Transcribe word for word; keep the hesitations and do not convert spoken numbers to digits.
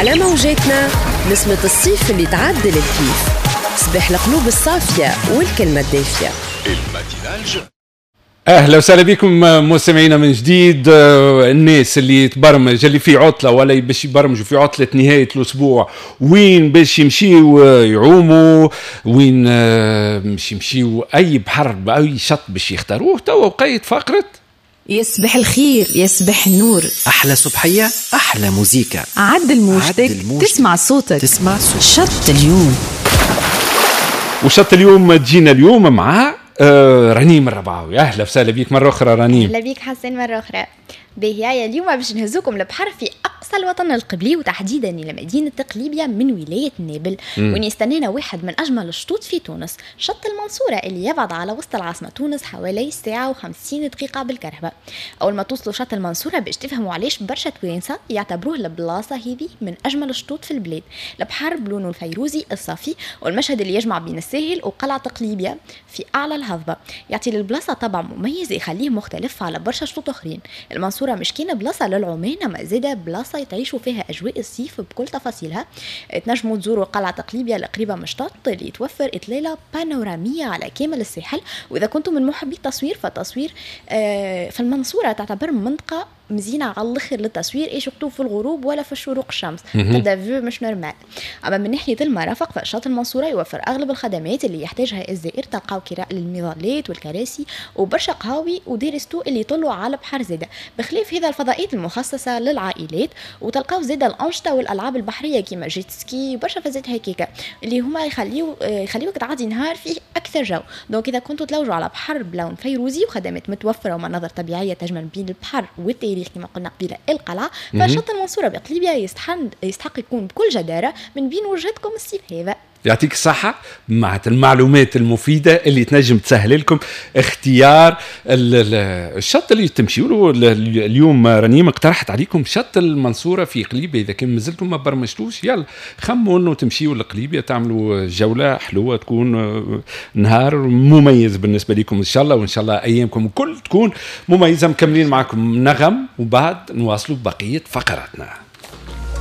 على موجاتنا نسمة الصيف اللي تعدل الكيف، صباح القلوب الصافية والكلمة الدافية. اهلا وسهلا بكم مستمعينا من جديد. الناس اللي تبرمج، اللي في عطله ولا باش يبرمجوا في عطله نهاية الاسبوع، وين باش يمشيو يعوموا، وين باش يمشيو اي بحر اي شط باش يختاروه، توا وقيت فقره يصبح الخير يصبح النور. احلى صبحيه احلى موزيكا. عدل موجتك تسمع صوتك تسمع صوتك. شط اليوم، وشط اليوم تجينا اليوم مع آه رنيم الربعاوي. اهلا وسهلا بيك مرة اخرى رنيم. اهلا بيك حسين مرة اخرى. باهي، اليوم باش نهزوكم لبحر في اقصى الوطن القبلي وتحديدا الى مدينة قليبيا من ولاية نابل، وين يستنانا واحد من اجمل الشطوط في تونس، شط المنصورة اللي يبعد على وسط العاصمة تونس حوالي ساعة وخمسين دقيقة بالكرهبه. اول ما توصلوا شط المنصورة باش تفهموا علاش برشا توانسة يعتبروه البلاصة هذه من اجمل الشطوط في البلاد. البحر بلونه الفيروزي الصافي والمشهد اللي يجمع بين الساحل وقلعه قليبيا في اعلى الهضبه يعطي للبلاصه طابع مميز يخليه مختلف على برشا شطوط اخرين. المنصورة مش كان بلاصة للعمان، ما زاده بلاصة تعيشوا فيها اجواء الصيف بكل تفاصيلها. تنجموا تزوروا قلعه قليبيا القريبة من الشط اللي توفر اطلالة بانوراميه على كامل الساحل. واذا كنتم من محبي التصوير فالتصوير آه في المنصورة تعتبر منطقة مزينة على الاخر للتصوير، اي surtout في الغروب ولا في الشروق الشمس، تبدا vue مش normal. اما من ناحية المرافق فشاطئ المنصورة يوفر اغلب الخدمات اللي يحتاجها الزائر، تلقاو كراء للمظلات والكراسي وبرشا قهاوي و des restos اللي يطلوا على بحر زاده، بخلاف هذا الفضاءات المخصصة للعائلات، وتلقاو زاده الانشطة والالعاب البحرية كيما jet ski وبرشا فازات هكاكا اللي هما يخليو يخليوك تعدي نهار فيه اكثر جو. donc اذا كنتوا تلوجوا على بحر بلون فيروزي وخدمات متوفرة ومناظر طبيعية تجمع بين البحر والتاريخ كما قلنا قبيلة القلعة، فشط المنصورة بقليبيا يستحق يستحق يكون بكل جداره من بين وجهتكم الصيف هذا. يعطيك الصحة مع المعلومات المفيدة اللي تنجم تسهل لكم اختيار الشط اللي تمشيوا له. اليوم رنيم اقترحت عليكم شط المنصورة في قليبيا، إذا كان مازلتم ما برمجتوش يلا خموا انه تمشيوا لقليبيا تعملوا جولة حلوة تكون نهار مميز بالنسبة لكم إن شاء الله، وإن شاء الله أيامكم الكل تكون مميزة. مكملين معكم نغم وبعد نواصلوا بقية فقراتنا.